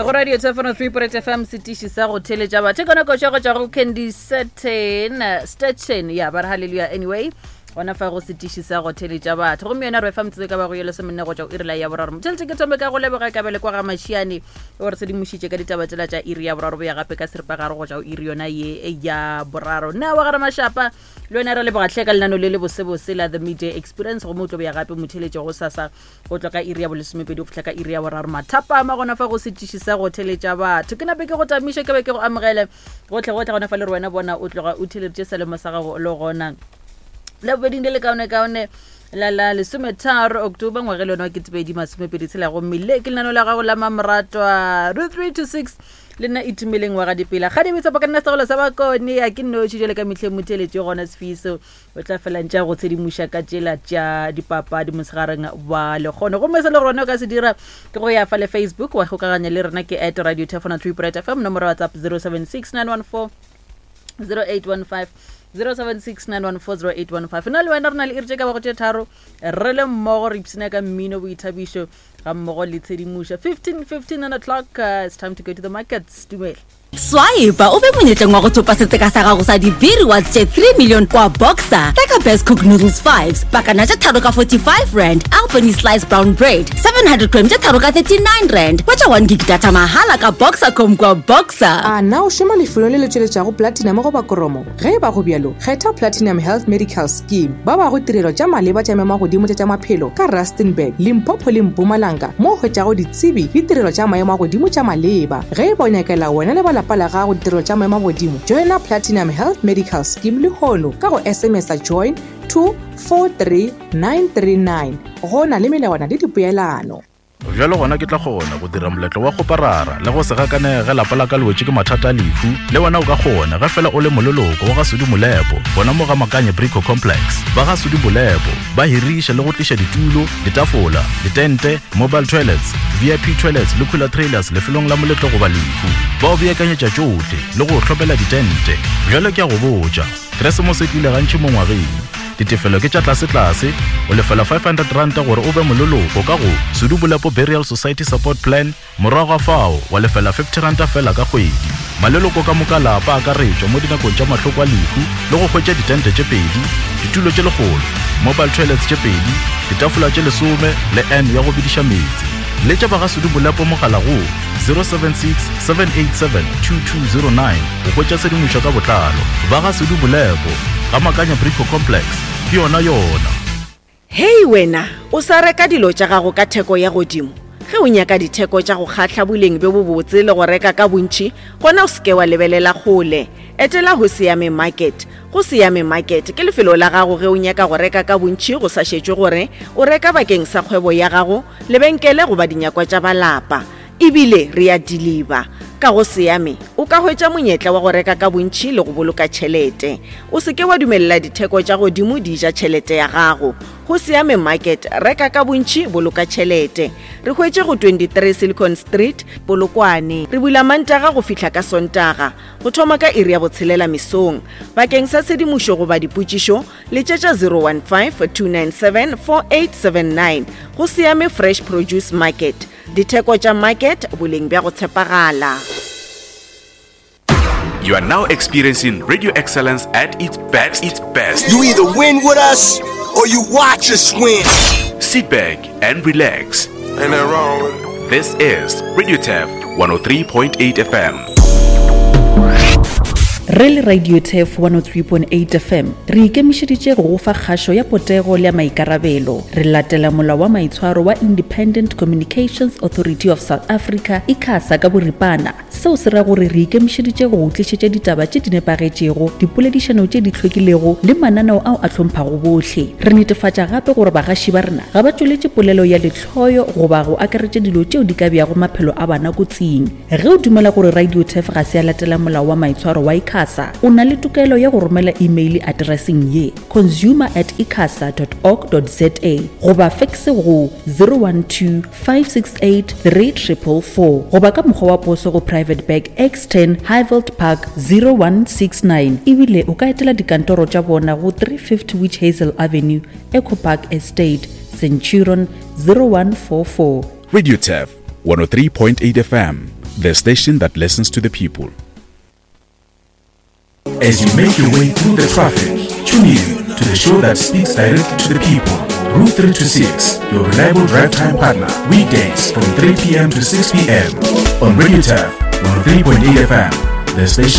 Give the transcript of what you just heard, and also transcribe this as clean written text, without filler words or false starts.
Go radio 703.8 FM setiši sa go theletša batho ka nako tša go tšwa go Candy Certain Stetchen ya ba re hallelujah anyway gona fa go setiši sa go theletša batho gomme yona re fa metsotso ka ba go ye lesomenne go tšwa go iri la ya boraro motheletše ke thome ka go leboga kabele kwa ga mašiane o re sedimošitše ka ditaba tsela tša iri ya boraro boya gape ka seripagare go tšwa go iri yona ye ya boraro nna wa gare mašapa le wena re leboga tlhe ka lenano le le bosebose la the midday experience gomme o tlo boya gape motheletše go sasa go tloga ka iri ya bolesomepedi go fihla ka iri ya boraro mathapama gona fa go setiši sa go theletša batho ke nape ke go tamiše ke be ke go amogele gotlhe gotlhe gona fa le re wena bona o tloga o theleditše selemo sa gago le gona la bobeding le le kaone kaone la la lesometharo october ngwage le yone wa ketepedi masomepedi tshela gomme le ke lenano la gago la mamoratwa ro 3 to 6 le nna itumeleng wa ga dipela ga dibetsa ka nna segolo sa bakone ya ke nnoši jale ka mehleng motheletše gona sefiso o tla fela ntša go tshedimoša ka tšela tša dipapadi mosegareng wa lekgono gomme se le gore wena o ka se dira ke go ya fa le facebook wa kgokaganya le rena ke at radio tefona 3 bright fm nomoro whatsapp 076 914 0815 0769140815 nna le wena re na le iri tše ka bago tše tharo re le mmogo re ipshina ka mmino boithabišo ga mmogo le tshedimošo 15 15 o'clock uh, it's time to go to the markets dumela Swipe o be monyetleng wa go thopa setseka sa gago sa di-B rewards tše 3 million kwa Boxer. Reka Best Cook Noodles 5, pakana tše tharo ka 45 rand, Albany Slice Brown Bread, 700 gram tše tharo ka 39 rand. Hwetša 1 gig data mahala ka Boxercom kwa Boxer. A na o šoma lefelong le le tšweletšago platinum goba koromo? Ge e ba go bjalo, kgetha Platinum Health Medical Scheme. Ba bago tirelo tša maleba tša maemo a godimo tša tša maphelo ka Rustenburg, Limpopo le Mpumalanga mo o hwetšago ditsebi le tirelo tša maemo a godimo tša maleba. Ge e ba o nyakela wena le ba lapa la gago ditirelo tša maemo a godimo, joina Platinum Health Medical Scheme lehono ka go SMS-a join to 43939. Go na le melawana le dipoelano. Bjalo gona ke tla kgona go dira moletlo wa kgoparara le go se gakanege ge lapa la ka le wetše ke mathata a lehu. Le wena o ka kgona ge fela o le moleloko wa ga Sudi Molepo gona mo ga Makanye Brico Complex. Ba ga Sudi Molepo ba hiriša le go tliša ditulo, ditafola, ditente, mobile toilets, VIP toilets le cooler trailers lefelong la moletlo goba lehu. Ba o beakanyetša tšohle le go o hlopela ditente. Bjalo ke a go botša, Keresemose e tlile gantši mo ngwageng. Ditefelo ke tša tlasetlase, o lefela R500 gore o be moleloko ka go Sudu Bolepo Burial Society Support Plan, morago ga fao wa lefela R50 fela ka kgwedi. Maleloko ka moka lapa a akaretšwa mo dinakong tša mahloko a lehu le go hwetša ditente tše pedi, ditulo tše lekgolo, mobile toilets tše pedi, ditafola tše lesome le urn ya go bediša meetse. Letša ba ga Sudu Bolepo mogala go 076 787 2209 go hwetša tshedimošo ka botlalo. Ba ga Sudu Bolepo, ga Makanya Brico Complex, ke yona yona. Hei wena, o sa reka dilo tša gago ka theko ya godimo? Ge o nyaka ditheko tša go kgahla boleng bjo bobotse le go reka ka bontši, gona o se ke wa lebelela kgole. Etela Hosiame Market. Gosiame Market ke lefelo la gago ge o nyaka go reka ka bontši go sa šetšwe gore o reka bakeng sa kgwebo ya gago, lebenkele goba dinyakwa tša ba lapa. E bile re a diliba. Ka go Siame, o ka hwetša monyetla wa go reka ka bontši le go boloka tšhelete. O se ke wa dumelela ditheko tša godimo di ja tšhelete ya gago. Go Siame Market, reka ka bontši, boloka tšhelete. Re hwetše go 23 Silicon Street, Polokwane. Re bula Mantaga go fihla ka Sontaga, go thoma ka iri ya botshelela mesong. Bakeng sa tshedimošo goba dipotšišo, letšetša 015 297 4879. Go Siame Fresh Produce Market. Ditheko tša market, boleng bja go tshepagala. You are now experiencing radio excellence at its best. Its best. You either win with us or you watch us win. Sit back and relax. Ain't nothing wrong with it. This is Radio Tef 103.8 FM. Re le Radio Turf 103.8 FM, re ikemišeditše go go fa kgašo ya potego le ya maikarabelo. Re latela molao wa maitshwaro wa Independent Communications Authority of South Africa, ICASA, ka boripana. Seo se ra gore re ikemišeditše go go tlišetša ditaba tše di nepagetšego, dipoledišano tše di hlwekilego le mananeo ao a hlomphago bohle. Re netefatša gape gore bagaši ba rena ga ba tšweletše polelo ya lehloyo goba go akaretša dilo tšeo di ka beago maphelo a bana kotsing. Ge o dumela gore Radio Turf ga se ya latela molao wa maitshwaro wa ICASA, o na le tokelo ya go romela imeile atereseng ye, consumer at icasa dot org dot za goba fekse go 012 568 3444 goba ka mokgwa wa poso go Private Bag X10 Highveld Park 0169. Ebile o ka etela dikantoro tša bona go 350 Witch Hazel Avenue, Echo Park Estate, Centurion 0144. Radio Turf 103.8 FM. The station that listens to the people. As you make your way through the traffic, tune in to the show that speaks directly to the people. Route 3 to 6, your reliable drive time partner, weekdays from 3 p.m. to 6 p.m. on Radio Turf 103.8 FM, the station.